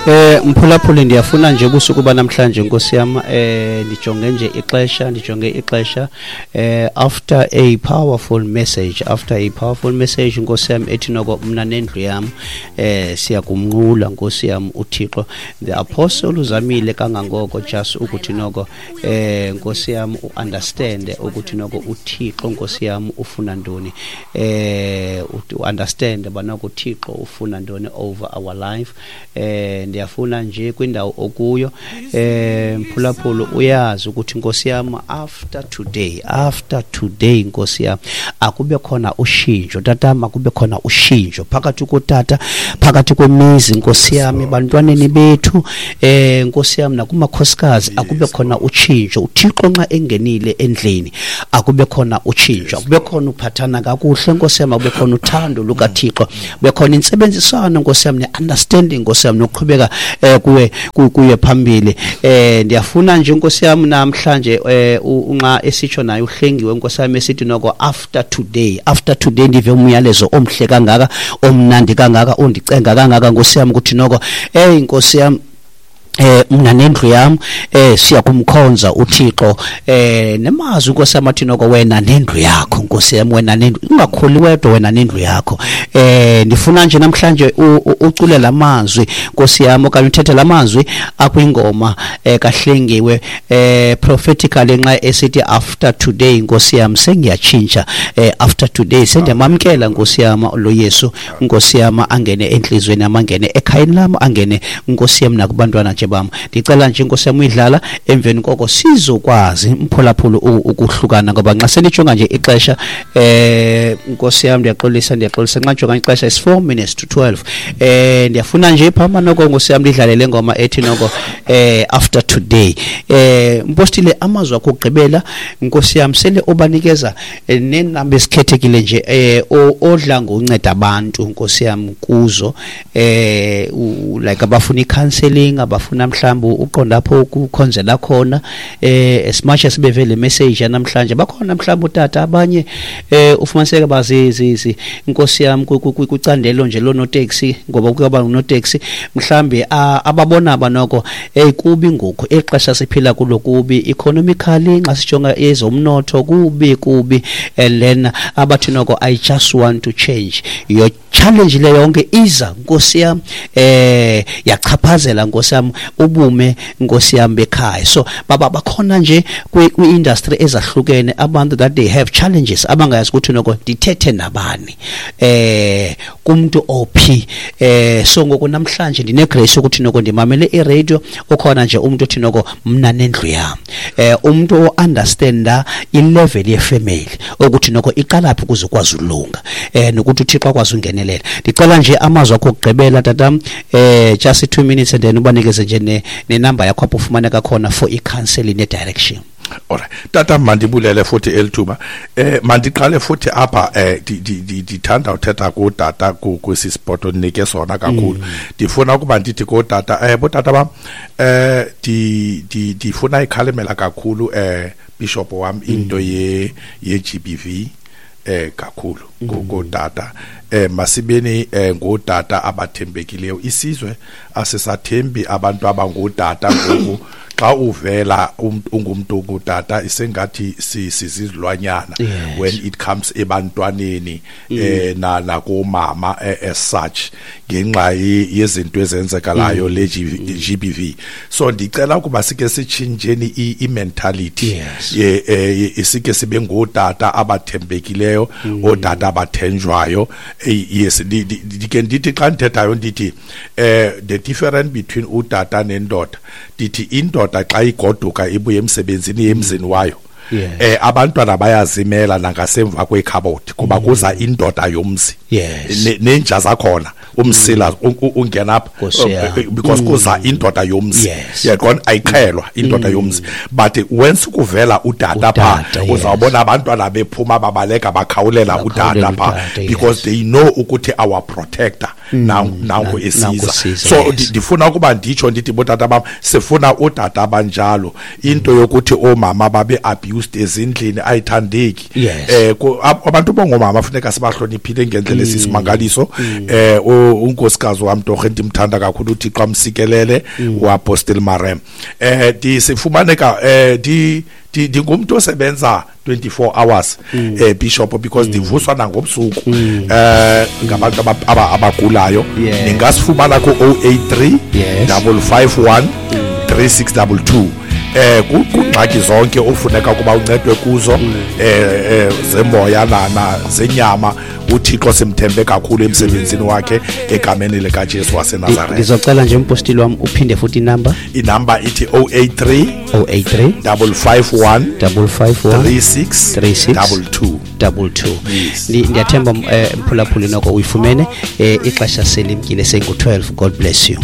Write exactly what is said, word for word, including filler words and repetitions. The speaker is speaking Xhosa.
Eh mphulaphuli, ndiyafuna nje ubusuku banamhlanje, Nkosi yam, eh ndijonge nje ixesha ndijonge ixesha eh after a powerful message after a powerful message, Nkosi yam, ethi noko mna nendlu yam eh siyakumnqula, Nkosi yam, uThixo. The apostle uzamile kangangoko just ukuthi noko eh Nkosi yam uunderstand ukuthi noko uThixo, Nkosi yam, ufuna ntoni, eh uunderstand banoko uThixo ufuna ntoni over our life. eh ndiyafuna nje kwindawo okuyo, eh mphulaphula, uyazi ukuthi, Nkosi yam, after today after today, Nkosi yam, akube khona ushintsho, tatama, akube khona ushintsho phakathi kotata, phakathi kwemizi, Nkosi yam, ebantwaneni bethu, eh Nkosi yam, nakumakhosikazi, akube khona utshintsho. UThixo nxa engenile endlini, akube khona utshintsho, akube khona uphathana kakuhle, Nkosi yam, akube khona uthando lukaThixo, kube khona intsebenziswano, Nkosi yam, ne-understanding, Nkosi yam, nokuqhubeka eh kuye kuye phambili. eh ndiyafuna nje, Nkosi yam, namhlanje eh unxa esitsho naye uhlengiwe, Nkosi yam, esithi noko after today after today ndive umyalezo omhle kangaka, omnandi kangaka, ondicenga kangaka, Nkosi yam, ukuthi noko, hey Nkosi yam, eh mina nendlu yam eh siyakumkhonza uThixo. eh nemazi Nkosi yam athi noko wena nendlu yakho, Nkosi yam, wena nendlu, ungakhuli wedwa, wena nendlu yakho. eh ndifuna nje namhlanje ucule lamazwi, Nkosi yam, okanye uthethe lamazwi akwingoma eh kaHlengiwe eh prophetically nxa esithi after today, Nkosi yam, sengiyatshintsha, eh after today sendiyamamkela, Nkosi yam, lo Yesu, Nkosi yam, angene enhlizweni yam, angene ekhayeni lam, angene, Nkosi yam, nakubantwana nje bam. Ndicela nje, Nkosi yam, uyidlala, emveni koko sizokwazi, mphulaphula, ukuhlukana, ngoba nxa sendijonga nje ixesha, eh Nkosi yam, ndiyaxolisa ndiyaxolisa nxa ndijonga ixesha is four minutes to twelve. eh ndiyafuna nje phama noko, Nkosi yam, ndidlale le ngoma ethi noko eh after today. eh mpostile, amazwi akho okugqibela, Nkosi yam, sele obanikeza nenamba esikhethekile nje eh odla ngonceda abantu, Nkosi yam, kuzo, eh like abafuna i-counseling, abafuna mhlawumbe uqonda apho ukukhonzela khona, eh as much as bevele message namhlanje, bakhona mhlawumbe utata abanye eh ufumaniseka bazi Nkosi yam kwicandelo nje lonotaxi, ngoba kuyaba unotaxi mhlambe ababona abanoko hey kubi ngoku exesha siphila kulo, kubi economically, nxa sijonga ezomnotho kubi kubi, and then abathi noko I just want to change. Your challenge le yonke iza, Nkosi yam, eh yachaphazela, Nkosi yam, ubume, Nkosi yam, bekhaya. So baba bakhona nje kwi-industry ezahlukene abantu that they have challenges, abangayazi ukuthi noko ndithethe nabani, eh kumuntu ophi. eh so ngoku namhlanje ndine grace ukuthi noko ndimamele i-radio, ukhona nje umuntu othi noko mna nendlu yami, eh umuntu o-understanda i-level ye-family ukuthi noko iqalaphi ukuze ukwazi ulunga, eh nokuthi uThixo akwazi ungenelela. Ndicela nje amazwi akho okugqibela, tatam, eh just two minutes, and then ubanikeze nje nenamba yakho apho ufumaneka khona for i-counseling ne-direction. Alright. Tata, mandibulele futhi elithuba. Eh mandiqale futhi apha, eh ndithanda uthetha kutata kwesi spot onike sona kakhulu. Ndifuna ukuba ndithi kotata, eh botata bam, eh di ndifuna ikhalimela kakhulu, eh bishop wam, into ye ye G B V eh kakhulu kotata. eh masibeni eh ngotata abathembekileyo. Isizwe asisathembi abantu abangotata ngoku. Xa uvela ungumuntu ongutata, isengathi sizizilwanyana when it comes ebantwaneni eh na nakomama as such, ngenxa yezinto ezenzekalayo le G B V. So ndicela ukuba sike sitshintsheni i-mentality, ye sike sibe ngotata abathembekileyo, otata abathenjwayo. Yes, ndike ndithi xa ndithethayo ndithi eh the difference between utata nendoda, ndithi indoda xa igoduka ibuye emsebenzini emzini wayo, eh abantwana bayazimela nangasemva kwekhabothi kuba kuza indoda yomzi, nenja zakhona umsila ungena apha because kuza indoda yomzi, yaqona, ayiqhelwa indoda yomzi. But once kuvela utata pha, uzawubona abantwana bephuma babaleka bakhawulela utata pha because they know ukuthi our protector. Nanku esiza. So ndifuna ukuba nditsho ndithi botata bam, sifuna utata abanjalo. Into yokuthi oomama babe abused ezindlini ayithandeki. Eh abantu bongomama funeka sibahloniphile ngendlela esisimangaliso. Eh unkosikazi wam torhe ndimthanda kakhulu, uThixo amsikelele, uApostle Marem. Eh ndisifumaneka eh ndi ndingumntu osebenza twenty-four hours eh Bishop, because ndivuswa nangobusuku eh ngabantu abagulayo. Ningasifumana ku oh eight three double five one three six double two. Eh kungxaki zonke ofuneka ukuba uncedwe kuzo eh zemoya na zenyama, uThixo simthembe kakhulu emsebenzini wakhe egameni likaJesu waseNazaretha. Ndizocela nje umpostile wam uphinde futhi inamba. Inamba ithi oh eight three oh eight three double five one double five one three six three six double two double two. Ndiyathemba mphulaphuli noko uyifumene. Ixesha selimkile, sengu twelve. God bless you.